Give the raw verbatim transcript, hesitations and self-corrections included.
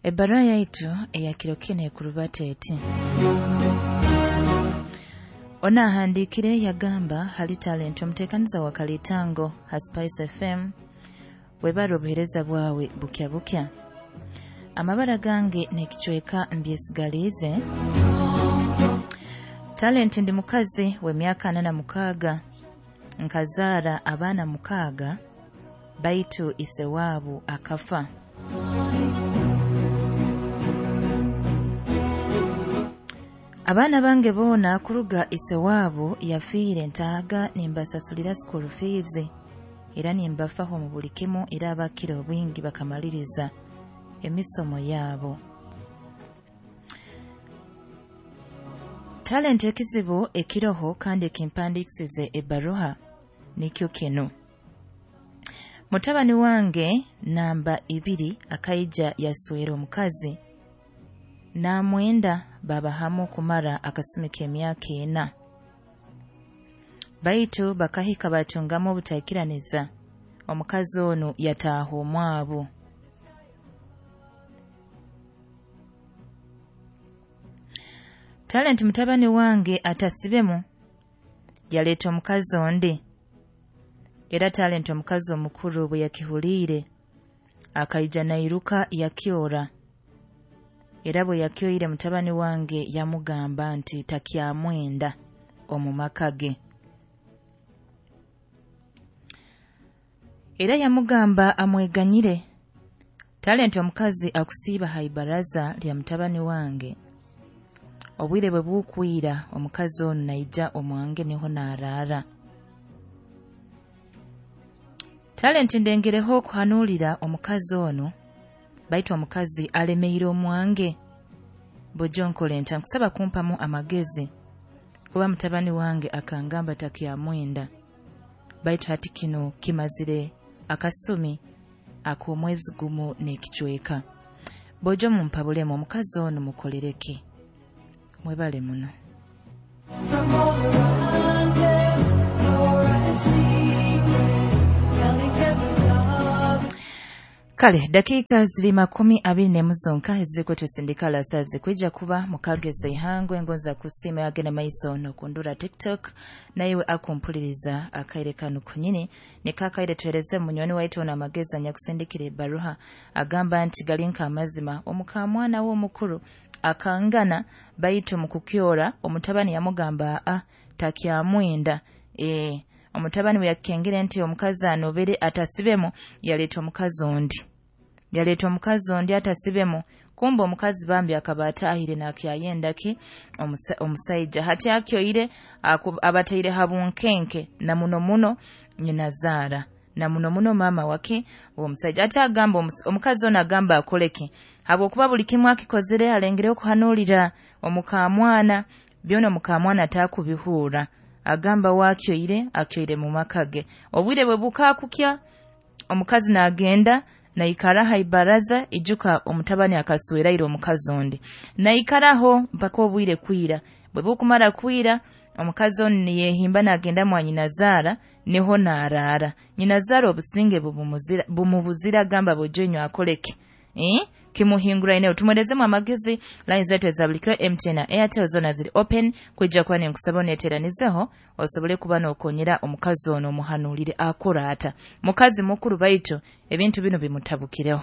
Ebbaruha yaitu eya kiro kinu ekurubata eti. Ono ahandiikire yagamba hali Talent omuteekaniza wa Kalitango ha Spice F M, webare obuheereza bwawe bukya bukya. Amabara gange n'ekicweka mbyesigaliize. Talent ndi mukazi w'emyaka ana na mukaaga, nkazaara abaana mukaaga, baitu ise waabu akafa. Abaana bange boona kuruga ise waabu yafiire ntaaga nimbasasulira school fees era nimbafaho mu buli kimu, era abakira obwingi bakamaliriza emisomo yaabo. Talent ekizibu ekiroho kandi ekimpandiikisize ebbaruha nikyo kinu. Mutabani wange namba ibiri akaija yaswera omukazi namwenda baba hamu kumara akasumi k'emyaka ena. Baitu bakahika batungamu obutaikiraniza, omukazi onu yataaha omwabu. Talent mutabani wange atasibemu yaleeta omukazi ondi, era Talent omukazi omukuru bwe yakihuliire akaija nairuka yakyora. Era bwe yakyoire mutabani wange yamugamba nti takyamwenda omu maka ge. Era yamugamba amweganyire. Talent omukazi akusiiba ha ibaraza lya mutabani wange. Obwire bwe bukwira omukazi onu naija omwange niho naaraara. Talent ndengereho okuhanuulira omukazi onu, baitu omukazi alemeire omwange. Bujo nkole nta, nkusaba kumpamu amagezi kuba mutabani wange akangamba takyamwenda, baitu hati kino kimazire akasumi ak'omwezi gumu n'ekicweka. Bojo mumpabulemu omukazi onu mukolereki? Mwebale muno. From all around them, you're a secret, telling every love. Kale dakika ziri makumi abiri n'emu zonka ezirikwetwesindika sazi kwija kuba mukageza ihangwe engonza kusiima yagenda maiso n'okundura TikTok, naiwe akumpuliriza akaire kanu kunyini nikakaire tuhereze munywani waitu ono amagezi anyakusindikira ebbaruha agamba nti gali nk'amazima omukamwana we omukuru akangana, baitu mu kukyora omutabani yamugamba a takyamwenda. E, omutabani bwe yakengere nti omukazi anobere atasibemu yaleeta omukazi ondi. Yaleeta omukazi ondi atasibemu, kumbe omukazi bambi akaba ataahire nakyayenda ki omusa, omusaija. Hati akyoire abataire habunkenke na muno muno nyinazaara na muno muno mama wake omusaija. Ate agamba omukazi ono agamba akoleki habwokuba buli kimu akikozere alengere okuhanuulira omukamwana, byona omukamwana atakubihuura. Agamba wakyoire akyoire mu maka ge. Obwire bwe bukakukya omukazi naagenda naikara ha ibaraza, ijuka omutabani akasweraire omukazi ondi, naikaraho mpaka obwire kwira. Bwe bukumara kwira omukazi onu niyehimba nagenda mwa nyinazaara niho naaraara. Nyinazaara obusinge bumubuzira agamba bojo akoleke eh kimuhinguraine. Tumwerezemu amagezi. Line zetu eza buli kiro M T N na Airtel zona ziri open kwijja kuba ninkusaba oneeteranizeho osobole kuba n'okonyera omukazi ono omuhanuulire akora ata. Mukazi mukuru baitu ebintu bino bimutabukireho.